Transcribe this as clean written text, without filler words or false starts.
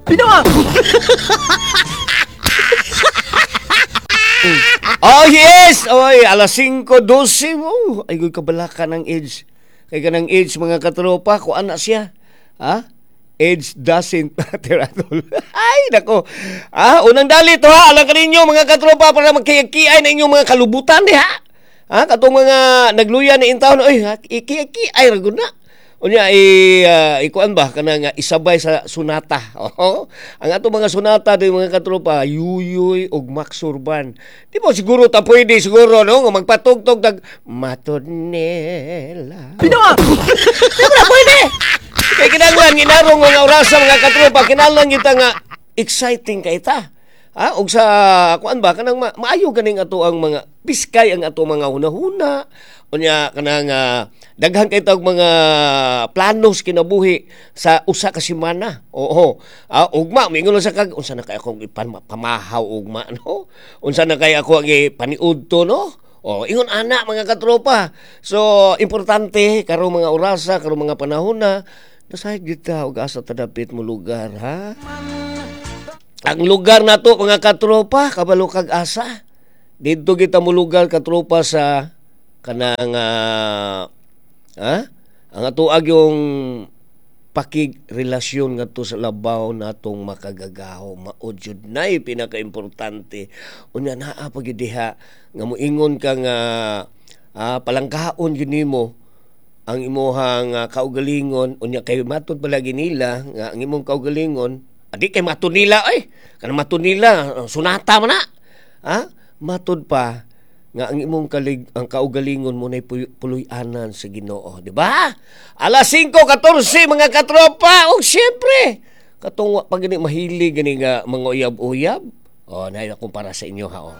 Bitaw. Oh yes! Oy, alas 5:12 mo. Ay, kabalaka ng age. Kay kanang age, mga katropa, kuan na siya. Ha? Age doesn't matter at all. Ay, nako. Ah, unang dali to ha. Alam ka ninyo, mga katropa, para magkiay na inyong mga kalubutan diha. Ha? Katong mga nagluya ni intawon, oy, ikiay ra gud na. Unya i ikuan ba kanang isabay sa sunata. Oo. Ang ato mga sunata di, mga katropa, Yuyuy ug Max Urban. Di mo siguro ta pwede siguro no nga magpatugtog tag Matod nila. Bitaw. Di mo na pwede. Kay kinahanglan ginarong nga orasa, mga katropa, kinahanglan kita nga exciting kay ta. Ha, og sa kuan ba kanang maayo ganing ato ang mga piskay ang ato mga hunahuna. Unya kanang daghan kay tag mga planos kinabuhi sa usa ka semana. Oo. Ah, ugma mingon sa kag unsa na kay akong pamahaw ugma no? Unsa na kay ako ang ipaniudto no? Oh, ingon ana, mga katropa. So, importante karong mga orasa, karong mga panahon na nasayod gyud ta og asa ta dapit mo lugar, ha? Ang lugar nato, mga katropa, kabalo kag asa. Didto kita mo lugar, katropa, sa kanang ha? Ang atoag yung pakigrelasyon ngadto sa labaw natong makagagaho, mao jud nay pinakaimportante. Unya naa pa gyud diha nga moingon ka nga palangkaon gyud nimo ang imuhang kaugalingon. Unya kay matud palagi nila nga ang imong kaugalingon adi kay matud nila, ay kanang matud nila sunata man na ha, matud pa nga ang imong kalig ang kaugalingon mo nay puloy-anan sa Ginoo, di ba? Alas 5:14, mga katropa, ug syempre katong wa pa gani mahilig gani nga mga uyab-uyab. Oh, nay akong para sa inyo ha, oh.